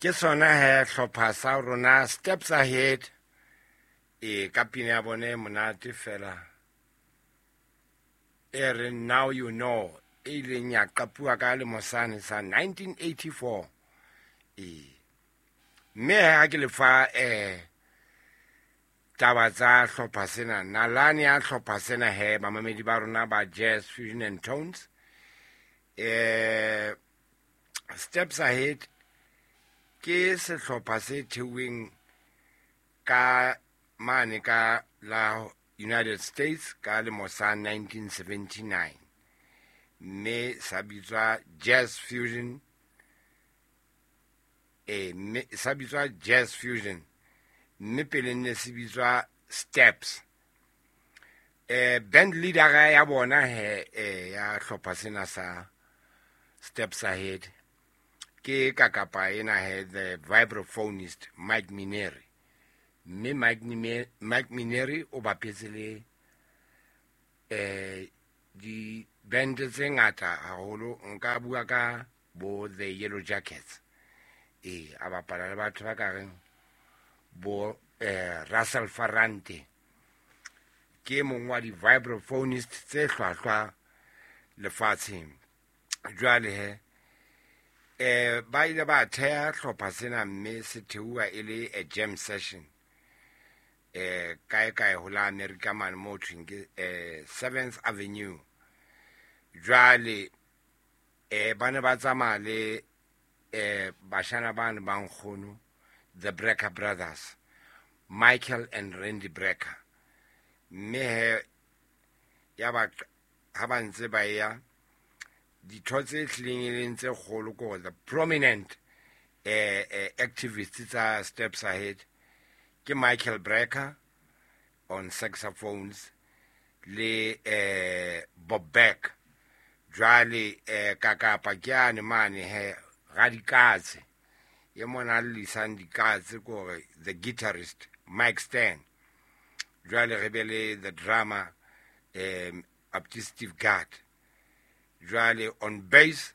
Ke sona he hlopha sa rona Steps Ahead, e ka pina ya bone e monate fela e re Now You Know, e ileng ya qapuwa ka lemo sane sa 1984. E mme ha ke lefa taba tsa hlopha sena, nalane ya hlopha sena he, bamamedi ba rona ba Jazz Fusion and Tones, Steps Ahead ke sehlopha se theuweng ka mane ka la United States ka lemo sa 1979, mme sa bitswa Jazz Fusion, mme sa bitswa Jazz Fusion, mme pele ne se bitswa Steps. Band leader ya bona he, ya hlopha sena sa Steps Ahead ke kakapa ena he, the vibraphonist Mike Mineri. Mme Mike Mineri o bapetse le di band tse ngata haholo, nka bua ka bo The Yellow Jackets, a bapala le batho ba ka reng bo Russell Ferrante, ke mong wa di-vibraphonist tse hlwahlwa lefatsheng. Jwale he, ba ile ba theha hlopha sena, mme se theuwa e le a jam session kae kae ho la America mane mo thweng ke 7th Avenue. Jwale ba ne ba tsamaya le bashana bane ba nkgono, the Brecker Brothers, Michael and Randy Brecker. Mme he ya ba ha ba ntse ba ya ditho tse hlileng e leng tse kgolo, ko the prominent activists tsa Steps Ahead ke Michael Brecker on saxophones le Bob Beck. Jwale kakapa ke ane mane he radikatse e mona lisang dikatse, kore the guitarist Mike Stern. Jwale re be le the drummer up to Steve Gadd. Jwale on bass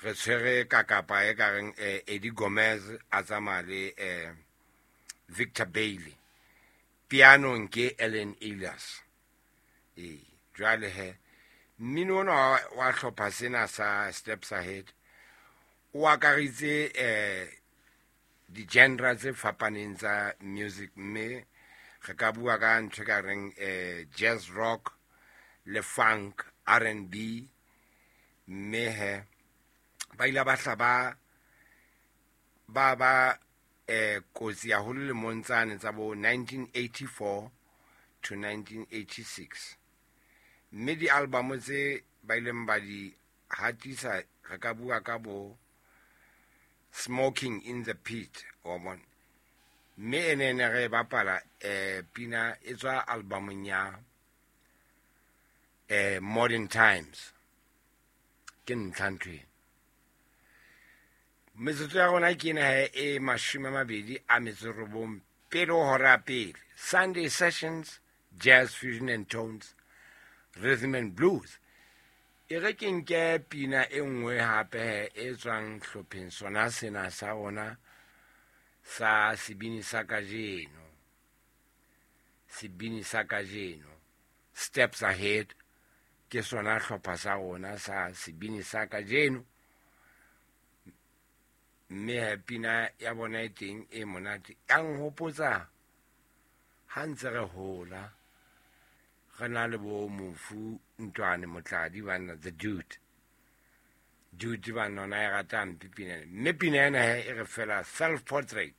re tshwere kakapa e ka reng Eddie Gomez, a tsamaya le Victor Bailey. Pianong ke Ellen Elias. Jwale he mmino ona wa hlopha sena sa Steps Ahead o akaritse di-genre tse fapaneng tsa music, mme re ka bua ka ntho e ka reng jazz rock le funk, R&B. Mme he ba ile ba hla ba kotsi haholo lemong tsane tsa bo 1984 to 1986. Mme di-album tse ba ileng ba di hatisa, re ka bua ka bo Smoking in the Pit, wa bona. Mme ene ne re bapala pina e tswa albumong ya Modern Times. Ke ntlha ntho ena. Metsotso ya rona ke ena he e 29 pele ho hora ya pele. Sunday Sessions, Jazz Fusion and Tones, Rhythm and Blues. E re ke nke pina e nngwe hape he e tswang hlopheng sona sena sa rona sa sebini sa kajeno. Sebini sa kajeno, Steps Ahead, ke sona hlopha sa rona sa sebini sa kajeno. Mme he pina ya bona e teng e monate, ya nhopotsa ha ntse re hola re na le bo mofu Ntwane Motladi banna, the dude dude banna, ona e rata hampe pina ena. Mme pina ena he e re fela Self Portrait.